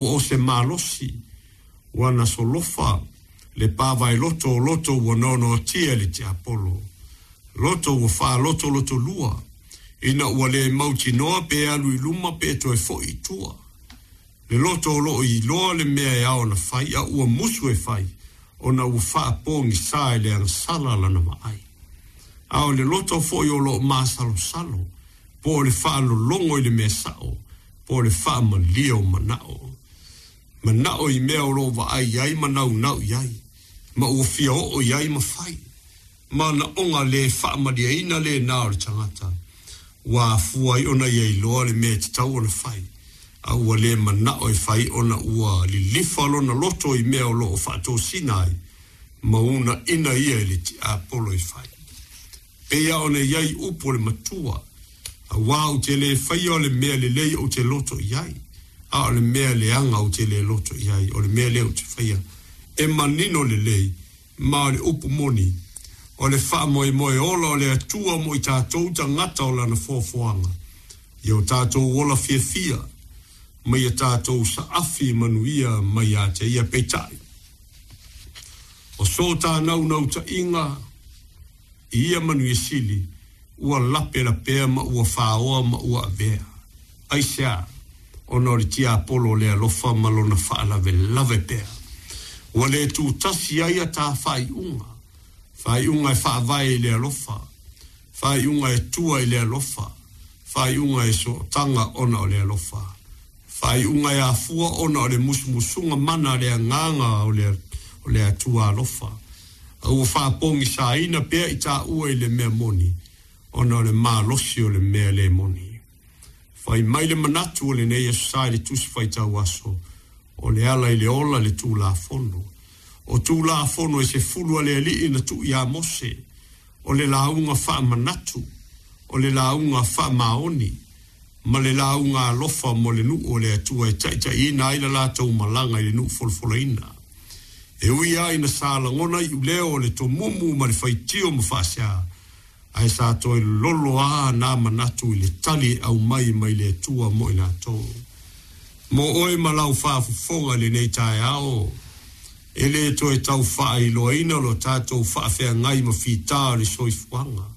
Ua o se malosi, ua na solofa le pavaeloto o loto ua noanoatia e le tiapolo, loto ua faalotolotolua, ina ua le mautinoa pe alu i luma pe toe foi i tua. Le loto o lo o iloa le mea e ao ona fai, a ua musu e fai, ona ua faapogisā i le agasala lana vaai. A o le loto foi o lo o masalosalo, po o le faalologo i le mea sao, po o le faamalie o manao. Manao i mea o lo o vaai i ai ma naunau i ai, ma ua fia oo i ai ma fai. Manaoga le faamalieina lena o le tagata, ua afua ai ona ia iloa le mea e tatau ona fai, a ua le manao e fai ona ua lilifa lona loto i mea o lo o faatosina ai ma uunaina ia e le tiapolo e fai. Pei lava ona i ai upu o le matua, Aua ou te le faia o le mea lelei ou te loto i ai, a o le mea leaga ou te le loto i ai, o le mea lea ou te faia. E manino lelei, ma o le upu moni, o le faamoemoe ola o le Atua mo i tatou tagata o Lana foafoaga, ia o tatou ola fiafia, ma ia tatou saafi manuia mai ia te Ia. Peitai, o so ta naunautaiga, I ia manuia sili, ua lapelapea ma ua faoa ma ua avea. Aisea? Ona o le tiapolo o le alofa ma lona faalavelave pea. Ua le tutasi ai a ta faaiuga, faaiuga e faavae i le alofa, faaiuga e tua i le alofa, faaiuga e sootaga ona o le alofa, Faaiuga e afua ona o le musumusuga mana a le Agaga o le o le Atua alofa, a ua faapogisaina pea i taua i le mea moni, ona o le malosi o le mea le moni. Fai mai le manatu o lenei Aso Sa i le Tusi Faitau Aso, o le ala i le ola le Tulafono. O Tulafono e sefulu a le Alii na tuu iā Mose, o le lauga faamanatu, o le lauga faamaoni, ma le lauga alofa mo le nuu o le Atua e taitaiina ai la latou malaga i le nuu folafolaina. E ui lava ina sa lagona iuleo o le tomumu ma le faitio ma faasea, ae sa toe lolo lava na manatu i le tali e aumai mai le Atua mo i latou. Mo oe ma lau faafofoga i lenei taeao, e le toe tau faailoaina lo tatou faafeagai ma fita o le soifuaga,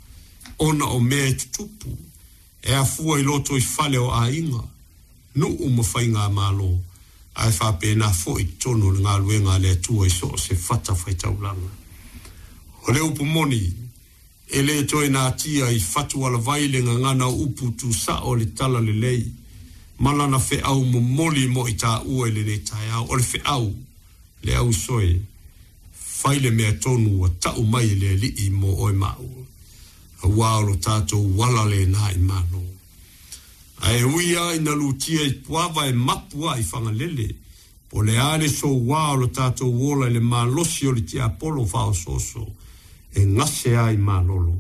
ona o mea e tutupu, E afua i lotoifale o aiga, nuu ma faigamalo, ae faapena foi i totonu o le galuega a le Atua i so o se fatafaitaulaga. O le upu moni, e le toe natia i fatualavai le gagana o upu tusao o le Talalelei ma lana feau momoli mo i taua i lenei taeao. O le feau, le ausoe, fai le mea tonu ua tau mai e le Alii mo oe ma au. Aua o lo tatou ala lena i Malo. Ae ui lava ina lutia i Puava e mapu a i Fagalele, po o le a le soua o lo tatou ola i le malosi o le tiapolo faaosooso e gase a i Malolo,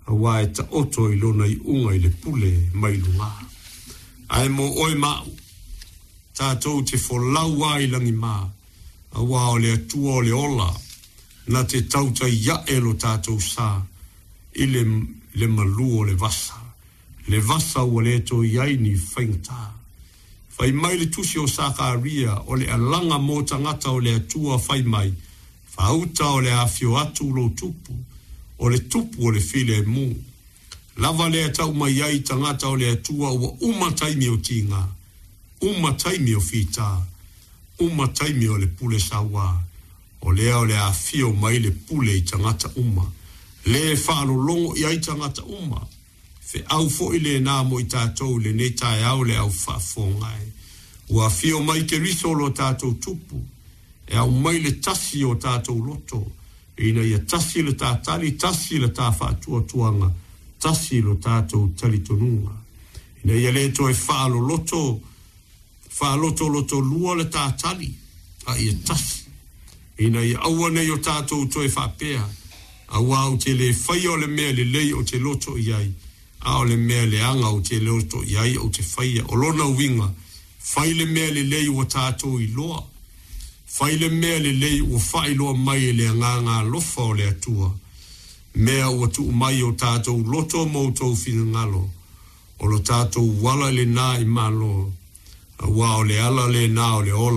aua e taoto i lona iuga i le pule mai luga. Ae mo oe ma au, tatou te folau a i lagima, aua o le Atua o le ola, na te tautai ae lo tatou sa i le le malu o le vasa, le vasa ua le toe i ai ni faigata. Fai mai le tusi o Sakaria, o le alaga mo tagata o le Atua fai mai, Faauta o le afio atu lou tupu, o le tupu o le filemu. Lava lea tau mai ai tagata o le Atua ua uma taimi o tiga, uma taimi o fita, uma taimi o le pule sauā. O lea o le a afio mai le pule i tagata uma, le faalologo i ai tagata uma. Feau foi lena mo i tatou i lenei taeao le au faafofoga e. Ua afio mai Keriso lo tatou Tupu, e aumai le tasi o tatou loto, ina ia tasi le ta tali, tasi le ta faatuatuaga, tasi lo tatou talitonuga. Ina ia le toe faaloloto Faalotolotolua le ta tali, a ia tasi, ina ia aua nei o tatou toe faapea, Aua ou te le faia o le mea lelei ou te loto i ai, a o le mea leaga ou te loto i ai ou te faia. O lona uiga, fai le mea lelei ua tatou iloa. Fai le mea lelei ua faailoa mai e le agaga alofa o le Atua, mea ua tuu mai i o tatou loto ma outou finagalo, O lo tatou ala lena i Malo. Auā o le ala lenā o le ola.